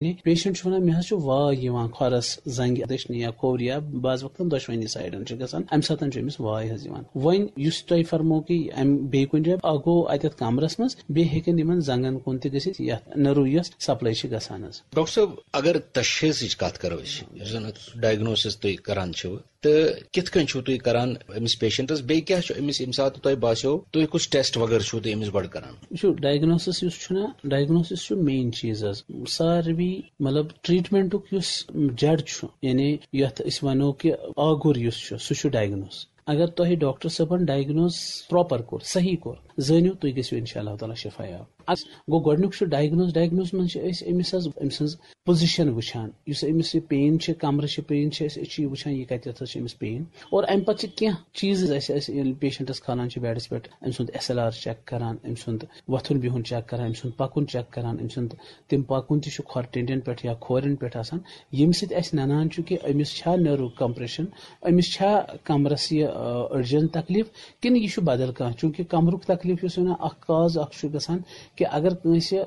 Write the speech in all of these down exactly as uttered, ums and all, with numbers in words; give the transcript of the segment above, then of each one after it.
یعنی پیشنٹ چھُ وَنان، مےٚ حظ چھُ واے یِوان کھۄرَس، زنٛگہِ دٔچھنہِ یا کھوورِ یا بعض وقتن دۄشوٕنی سایڈن چھِ گژھان، اَمہِ ساتہٕ چھُ أمِس واے حظ یِوان۔ وۄنۍ یُس تۄہہِ فرمو کہِ اَمہِ بیٚیہِ کُنہِ جایہِ اَکھ گوٚو اَتٮ۪تھ کمرَس منٛز، بیٚیہِ ہیٚکن یِمن زنٛگن کُن تہِ گٔژھِتھ، یَتھ نٔرو یۄس سپلاے چھِ گژھان حظ۔ ڈاکٹر صٲب، اگر تشخیصٕچ کتھ کرو أسۍ، یُس زن ڈائگنوسس تُہۍ کران چھِو، تہٕ کِتھ کٔنۍ چھِو تُہۍ کران أمِس پیشنٹس، بیٚیہِ کیٛاہ چھُ أمِس ییٚمہِ ساتہٕ تۄہہِ باسیو، تُہۍ کُس ٹیسٹ وغٲرٕ چھِو تُہۍ أمِس گۄڈٕ کران؟ وٕچھِو، ڈائگنوسس یُس چھُنہ، ڈائگنوسس چھُ مین چیٖز حظ۔ ساروی مطلب ٹریٹمنٹُک یُس جڑ چھُ، یعنی یتھ أسۍ ونو کہِ آگُر یُس چھُ، سُہ چھُ ڈائگنوس۔ اگر تۄہہِ ڈاکٹر صٲبن ڈائگنوس پراپر کوٚر، صحیح کوٚر، زٲنِو تُہۍ گٔژھِو انشاء اللہ تعالیٰ شفا یاب۔ اَس گوٚو گۄڈٕنیُک چھُ ڈائگنوس۔ ڈائگنوس منٛز چھِ أسۍ أمِس حظ، أمۍ سٕنٛز پوزیشن وٕچھان، یُس أمِس یہِ پین چھِ، کمرٕ چھِ پین چھِ، أسۍ أسۍ چھِ یہِ وٕچھان، یہِ کتٮ۪تھ حظ چھِ أمِس پین۔ اور امہِ پتہٕ چھِ کینٛہہ چیٖز اَسہِ، أسۍ ییٚلہِ پیشنٹس کھالان چھِ بیڈس پٮ۪ٹھ، أمۍ سُنٛد ایس ایل آر چیک کران، أمۍ سُنٛد وۄتھُن بِہُن چیک کران، أمۍ سُنٛد پکُن چیک کران، أمۍ سُنٛد تِم پکُن تہِ چھُ کھۄر ٹینڈین پٮ۪ٹھ یا کھورٮ۪ن پٮ۪ٹھ آسان، ییٚمہِ سۭتۍ اَسہِ ننان چھُ کہِ أمِس چھا نٔرو کمپریشن، أمِس چھا کمرس یہِ، آ، أڈجن تکلیف، کِنہٕ یہِ چھُ بدل کانٛہہ؟ چوٗنٛکہِ کمرُک تکلیف یُس وَنان اکھ کاز اکھ چھُ گژھان کہِ اگر کٲنٛسہِ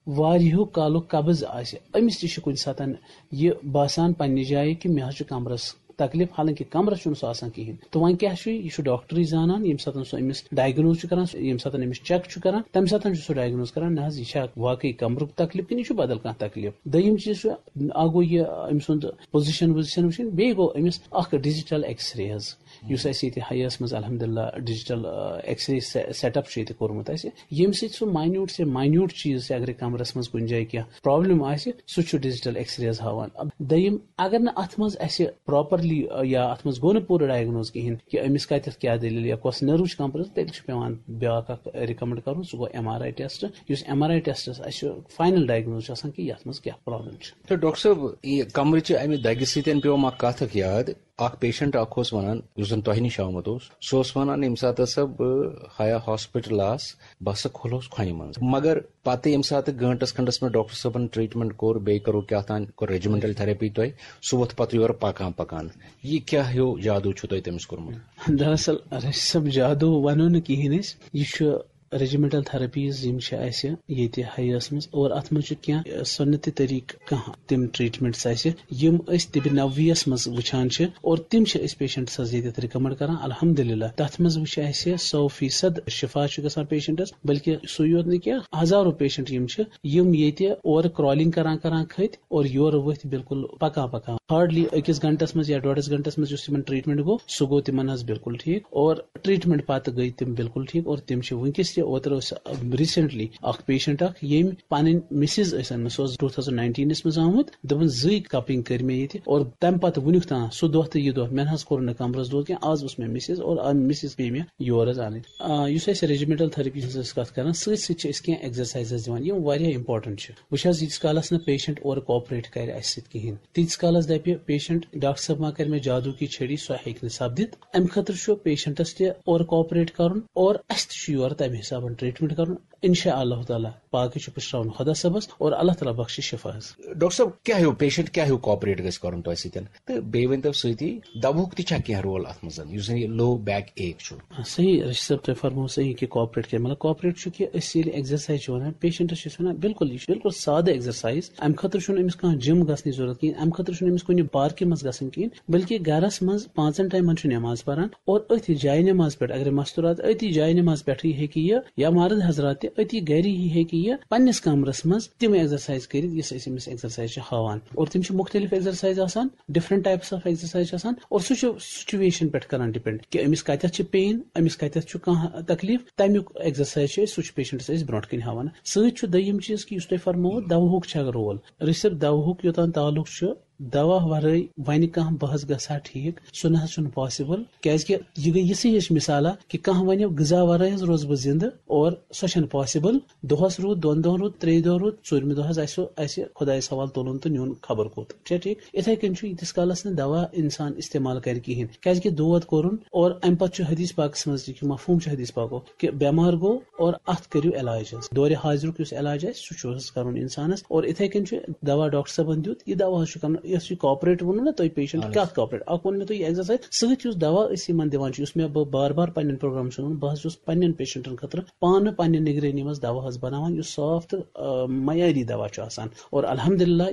واریاہو کالُک قبض آسہِ، أمِس تہِ چھُ کُنہِ ساتن یہِ باسان پننہِ جایہِ کہِ مےٚ حظ چھُ کمرس تکلیف، حالانکہِ کمرس چھُنہٕ سُہ آسان کِہینۍ۔ تہٕ وۄنۍ کیٛاہ چھُ، یہِ چھُ ڈاکٹرٕے زانان، ییٚمہِ ساتن سُہ أمِس ڈائگنوز چھُ کران، ییٚمہِ ساتن أمِس چیک چھُ کران، تمہِ ساتن چھُ سُہ ڈائگنوز کران، نہ حظ، یہِ چھا واقعی کمرُک تکلیف کِنہٕ یہِ چھُ بدل کانٛہہ تکلیف۔ دوٚیِم چیٖز چھُ، اکھ گوٚو یہِ أمۍ سُنٛد پوزیشن ووزیشن وٕچھِنۍ، بیٚیہِ گوٚو أمِس اکھ ڈیجیٹل ایکس رے حظ، یُس اَسہِ ییٚتہِ ہیَس منٛز الحمدللہ ڈیجیٹل، آ، ایکس رے سے-، سیٹ اپ چھُ ییٚتہِ کوٚرمُت اَسہِ، ییٚمہِ سۭتۍ سُہ ماینیوٹ سے ماینیوٹ چیٖز تہِ اگرے کمرس منٛز کُنہِ جایہِ کینٛہہ پرابلم آسہِ، سُہ چھُ ڈیجیٹل ایکس ریز ہاوان۔ اب دوٚیِم، اگر نہٕ اتھ منٛز اَسہِ پراپرلی، آ، یا اتھ منٛز گوٚو نہٕ پوٗرٕ ڈائگنوز کِہینۍ کہِ أمِس کتٮ۪تھ کیٛاہ دٔلیٖل یا کۄس نٔرو چھِ کمپریس، تیٚلہِ چھُ پٮ۪وان بیٛاکھ اکھ ریکمنڈ کرُن، سُہ گوٚو ایم آر آی ٹیسٹ، یُس ایم آر آی ٹیسٹس اَسہِ فاینل ڈائگنوز چھُ آسان کہِ یتھ منٛز کیٛاہ پرابلم چھِ۔ تہٕ ڈاکٹر صٲب، یہِ کمرٕچہِ امہِ دگہِ سۭتۍ پیوٚو مےٚ اکھ کتھ اکھ یاد۔ اکھ پیشنٹ اکھ اوس ونان، یُس زن تۄہہِ نِش آمُت اوس، سُہ اوس ونان، ییٚمہِ ساتہٕ ہسا بہٕ ہیا ہاسپٹل آس، بہٕ ہسا کھُلوس کھۄنہِ منٛز۔ مگر پتہٕ ییٚمہِ ساتہٕ گٲنٹس کھنڈس منٛز ڈاکٹر صٲبن ٹریٹمنٹ کوٚر، بیٚیہِ کٔرٕو کیٛاہ تام، کوٚر ریجیمنٹل تھراپی تۄہہِ، سُہ ووٚتھ پتہٕ یورٕ پکان پکان۔ یہِ کیٛاہ ہیوٗ جادو چھُو تۄہہِ تٔمِس کوٚرمُت؟ دراصل رشید صٲب، جادو ونو نہٕ کِہینۍ أسۍ، یہِ چھُ ریجیمنٹل تھراپیز یِم چھِ اَسہِ ییٚتہِ ہیَس منٛز، اور اَتھ منٛز چھِ کینٛہہ سُنتی طریٖقہٕ، کانٛہہ تِم ٹریٹمنٹس اَسہِ یِم أسۍ طبِ نبویَس منٛز وٕچھان چھِ، اور تِم چھِ أسۍ پیشنٹس حظ ییٚتٮ۪تھ ریکمنڈ کران۔ الحمدللہ، تَتھ منٛز وٕچھ اَسہِ سو فیصد شفا چھُ گژھان پیشنٹس، بلکہِ سُے یوت نہٕ کینٛہہ، ہزارو پیشنٹ یِم چھِ، یِم ییٚتہِ اورٕ کرالنگ کران کران کھٔتۍ اور یورٕ ؤتھۍ بالکل پکان پکان۔ ہارڈلی أکِس گھنٹس منٛز یا ڈۄڈس گھنٹس منٛز یُس تِمن ٹریٹمنٹ گوٚو، سُہ گوٚو تِمن حظ بالکل ٹھیٖک، اور ٹریٹمنٹ پتہٕ گٔے تِم بالکل ٹھیٖک، اور تِم چھِ وٕنکیٚس تہِ۔ اوترٕ اوس ریسنٹلی اکھ پیشنٹ اکھ، ییٚمۍ پنٕنۍ مسز ٲسۍ أنمٕژ، سۄ ٲس ٹوٗ تھاوزنڈ ناینٹینس منٛز آمُت، دوٚپُن، زٕے کپنگ کٔرۍ مےٚ ییٚتہِ، اور تمہِ پتہٕ وُنیُک تام سُہ دۄہ تہٕ یہِ دۄہ مےٚ نہ حظ کوٚر نہٕ کمرس دود کینٛہہ، آز وٕچھ مےٚ مسز، اور آ، مسز پیٚیہِ مےٚ یور حظ انٕنۍ۔ آ، یُس اَسہِ ریجیمنٹل تھراپی ہٕنٛز ٲسۍ کتھ کران، سۭتۍ سۭتۍ چھِ أسۍ کینٛہہ ایکزرسایزز دِوان، یِم واریاہ امپورٹنٹ چھِ۔ وٕچھ حظ، ییٖتِس کالس نہٕ پیشنٹ اورٕ کوآپریٹ کرِ اَسہِ سۭتۍ کِہینۍ، تیٖتِس کالس دَپہِ پیشنٹ، "ڈاکٹر صٲب ما کرِ مےٚ جادو کی چھڑی"، سُہ ہیٚکہِ نہٕ سپدِتھ۔ اَمہِ خٲطرٕ چھُ پیشنٹس تہِ اورٕ کوآپریٹ کرُن اور اَسہِ تہِ چھُ یورٕ تَمہِ حسابن ٹریٹمنٹ کرُن۔ انشاء اللہ تعالیٰ باقٕے چھُ پُشراوُن خۄدا صٲبس اور اللہ تعالیٰ بخشہِ شفا حظ۔ ڈاکٹر صٲب، کیٛاہ ہیوٗ پیشنٹ کیٛاہ ہیوٗ کوآپریٹ گژھِ کرُن تۄہہِ سۭتۍ؟ تہٕ بیٚیہِ ؤنۍ تو سۭتی دَوہُک تہِ چھا کینٛہہ رول اَتھ منٛز، یُس زَن یہِ لو بیک ایک چھُ؟ آ، صحیح، رشید صٲب، تۄہہِ فرموو صحیح کہِ کوآپریٹ کیٛاہ، مطلب، کوآپریٹ چھُ کہِ أسۍ ییٚلہِ ایکزرسایز چھِ وَنان، پیشنٹس چھِ أسۍ وَنان، بالکل، یہِ چھُ بالکل سادٕ ایکزرسایز۔ اَمہِ خٲطرٕ چھُنہٕ أمِس کانٛہہ جم گژھنٕچ ضروٗرت کِہیٖنۍ، اَمہِ خٲطرٕ چھُنہٕ أمِس کُنہِ پارکہِ منٛز گژھُن کِہیٖنۍ، بلکہِ گرس منٛز پانٛژن ٹایمن چھُ نٮ۪ماز پَران اور أتھۍ جایہِ نٮ۪ماز پٮ۪ٹھ، اگر مستورات أتی جایہِ نٮ۪ماز پٮ۪ٹھٕے ہیٚکہِ یہِ یا مرد حضرات تہِ أتی گری ہی ہیٚکہِ یہِ پننِس کمرس منٛز تِم ایکزرسایز کٔرِتھ، یُس أسۍ أمِس ایکزرسایز چھِ ہاوان۔ اور تِم چھِ مختلف ایکزرسایز آسان، ڈفرنٹ ٹائپس آف ایکزرسایز چھِ آسان، اور سُہ چھُ سچویشن پٮ۪ٹھ کران ڈپینڈ کہِ أمِس کتٮ۪تھ چھِ پین، أمِس کتٮ۪تھ چھُ کانٛہہ تکلیف، تمیُک ایکزرسایز چھِ أسۍ، سُہ چھُ پیشنٹس أسۍ برونٛٹھ کِنۍ ہاوان۔ سۭتۍ چھُ دوٚیِم چیٖز کہِ یُس تۄہہِ فرمووُ، دوہُک چھا رول؟ رشید صٲب، دوہُک یوٚتام تعلق چھُ، دوا ورٲے وَنہِ کانٛہہ بہٕ حظ گژھٕ ہا ٹھیٖک، سُہ نہ حظ چھُنہٕ پاسبل، کیازِ کہِ یہِ گٔے یِژھٕے ہِش مثالا کہِ کانٛہہ وَنہِ، "غذا ورٲے حظ روزٕ بہٕ زِندٕ"، اور سۄ چھَنہٕ پاسبل۔ دۄہَس روٗد، دۄن دۄہَن روٗد، ترٛیٚیہِ دۄہ روٗد، ژوٗرمہِ دۄہ حظ آسہِ سُہ اَسہِ خۄدایَس حوالہٕ تُلُن تہٕ نیُن خبر کوٚت۔ چھا ٹھیٖک؟ یِتھَے کٔنۍ چھُ ییٖتِس کالَس نہٕ دوا اِنسان استعمال کَرِ کِہیٖنۍ، کیازِ کہِ دود کوٚرُن، اور اَمہِ پَتہٕ چھُ حدیث پاکَس منٛز تہِ کہِ مفہوٗم چھُ حدیث پاکُک کہِ بٮ۪مار گوٚو اور اَتھ کٔرِو علاج حظ۔ دورِ حاضرُک یُس علاج آسہِ، سُہ چھُ حظ کَرُن اِنسانَس۔ اور اِتھَے کٔنۍ چھُ دوا ڈاکٹر صٲبَن دیُت، یہِ دوا حظ چھُ کَرُن، یۄس یہِ کوآپریٹ ووٚنوُ نہ تۄہہِ پیشنٹ، اَہَن حظ۔ کَتھ کوآپریٹ؟ اَکھ ووٚن مےٚ تۄہہِ یہِ ایکزرسایز، سۭتۍ یُس دوا أسۍ یِمَن دِوان چھِ، یُس مےٚ بہٕ بار بار پنٛنٮ۪ن پروگرامَن چھُس وَنان، بہٕ حظ چھُس پنٛنٮ۪ن پیشنٹَن خٲطرٕ پانہٕ پنٛنہِ نگرٲنی منٛز دوا حظ بَناوان، یُس صاف تہٕ، آ، معیٲری دوا چھُ آسان۔ اور الحمدللہ،